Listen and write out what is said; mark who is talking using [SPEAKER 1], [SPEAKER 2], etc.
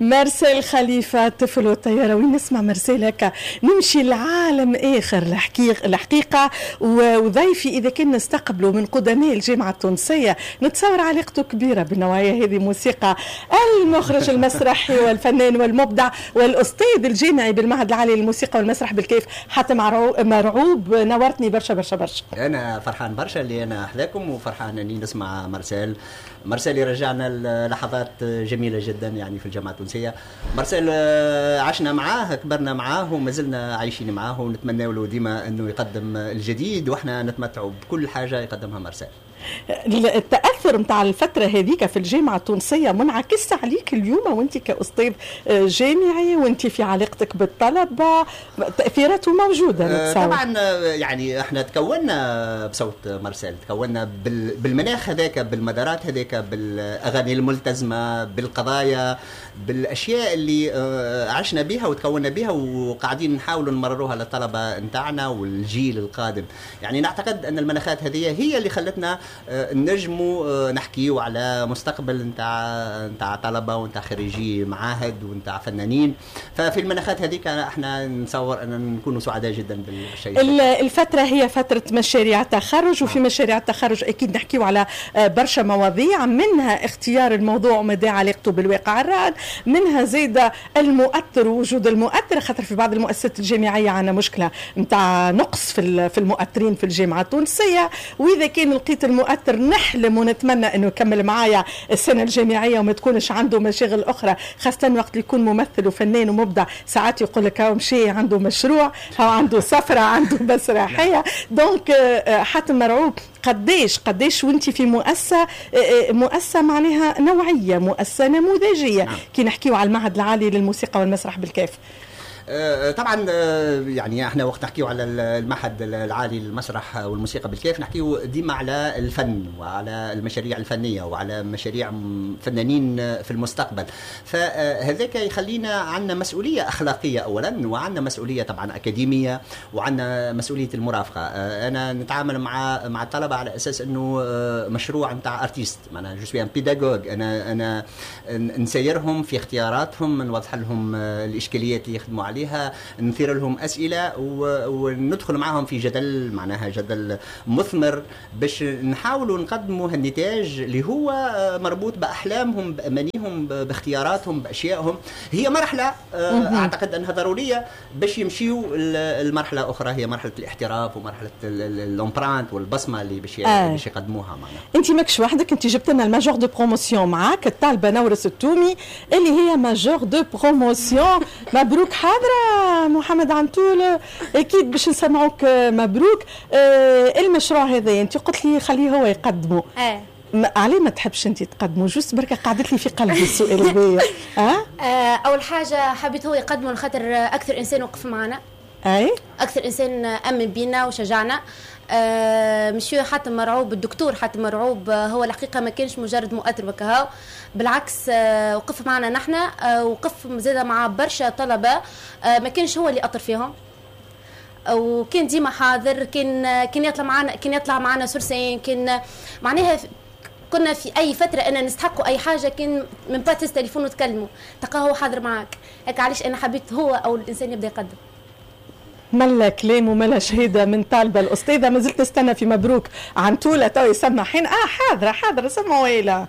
[SPEAKER 1] مارسيل خليفة، طفل والطيارة. وين نسمع مارسيل هكا نمشي لعالم آخر الحقيقة. وضيفي إذا كان نستقبله من قدماء الجامعة التونسية، نتصور علاقته كبيرة بالنوعية هذه موسيقى. المخرج المسرحي والفنان والمبدع والأستاذ الجامعي بالمعهد العالي للموسيقى والمسرح بالكاف، حاتم مرعوب، نورتني برشا برشا برشا.
[SPEAKER 2] أنا فرحان برشا اللي أنا أحذاكم، وفرحان أني نسمع مارسيل. مارسيل يرجعنا لحظات جميلة جدا يعني في الجامعة التونسية. مارسيل عشنا معاه، كبرنا معاه، وما زلنا عايشين معاه، ونتمنى له ديما انه يقدم الجديد، واحنا نتمتع بكل حاجة يقدمها مارسيل.
[SPEAKER 1] التاثر نتاع الفترة هذيك في الجامعة التونسية منعكس عليك اليوم وانت كاستاذ جامعي وانت في علاقتك بالطلبه، تاثيراته موجودة نتصور.
[SPEAKER 2] طبعا، يعني احنا تكونا بصوت مارسيل، تكونا بالمناخ هذاك، بالمدارات هذاك، بالاغاني الملتزمه، بالقضايا، بالاشياء اللي عشنا بها وتكونا بها، وقاعدين نحاولوا نمرروها للطلبة نتاعنا والجيل القادم. يعني نعتقد ان المناخات هذه هي اللي خلتنا نجموا نحكيو على مستقبل نتاع طلبه ونتاع خريجي معاهد ونتاع فنانين. ففي المناخات هذيك احنا نتصور ان نكونوا سعداء جدا بالشيء.
[SPEAKER 1] الفترة هي فترة مشاريع تخرج، وفي مشاريع التخرج اكيد نحكيو على برشا مواضيع، منها اختيار الموضوع ومدى علاقته بالواقع الراهن، منها زيد المؤطر ووجود المؤطر، خاطر في بعض المؤسسات الجامعية عندنا مشكلة نتاع نقص في المؤطرين في الجامعة التونسيه. واذا كان لقيت المؤطر نحلم ونتمنى انه يكمل معايا السنة الجامعية وما تكونش عنده مشاغل اخرى، خاصة وقت اللي يكون ممثل وفنان ومبدع. ساعات يقول لك هاو مشي عنده مشروع، هاو عنده سفره، عنده مسرحيه. donc حاتم مرعوب، قديش قديش وانت في مؤسسه، مؤسسة معناها نوعيه، مؤسسة نموذجيه، كي نحكيو على المعهد العالي للموسيقى والمسرح بالكاف؟
[SPEAKER 2] طبعا، يعني احنا وقت نحكيو على المعهد العالي للمسرح والموسيقى بالكاف نحكيو ديما على الفن وعلى المشاريع الفنية وعلى مشاريع فنانين في المستقبل. فهذاك يخلينا عندنا مسؤولية اخلاقية اولا، وعندنا مسؤولية طبعا اكاديميه، وعندنا مسؤولية المرافقه. انا نتعامل مع الطلبة على اساس انه مشروع نتاع artiste، معناها je suis un pédagogue. انا نسيرهم في اختياراتهم، نوضح لهم الاشكاليات اللي يخدموا عليها، نثير لهم اسئلة وندخل معهم في جدل، معناها جدل مثمر، باش نحاولوا نقدموا هالنتاج اللي هو مربوط باحلامهم، بامانيهم، باختياراتهم، باشيائهم. هي مرحلة اعتقد انها ضرورية باش يمشيوا المرحلة اخرى، هي مرحلة الاحتراف ومرحلة l'empreinte والبصمه اللي باش يقدموها معنا.
[SPEAKER 1] انت ماكش وحدك، انت جبت لنا ال major de promotion معاك، الطالبة نورس التومي اللي هي major de promotion. مبروك، حاضره محمد عنتول، اكيد باش نسمعوك. مبروك. المشروع هذا انت قلت لي خليه هو يقدمه. عليه ما تحبش انت تقدمه؟ juste بركة قعدت لي في قلبي السؤال هذايا.
[SPEAKER 3] ها اول حاجة حبيت هو يقدمه لخاطر اكثر انسان وقف معنا، اكثر انسان امن بينا وشجعنا. مسيو حاتم مرعوب، الدكتور حاتم مرعوب، هو الحقيقة ما كانش مجرد مؤطر وكهو، بالعكس وقف معنا نحن، وقف زاد مع برشا طلبه ما كانش هو اللي اطر فيهم، وكان ديما حاضر، كان يطلع معنا sur scène، كان معناها كنا في اي فترة انا نستحقوا اي حاجه، كان même pas تهز تليفون وتكلموا تلقاه هو حاضر معاك. هكا علاش انا حبيت هو او الانسان يبدا يقدم.
[SPEAKER 1] ملا كلام وملا شهادة من طالبه الاستاذه. ما زلت نستنى في مبروك عنتوله تو يسمع حين حاضره حاضره، سمعوا.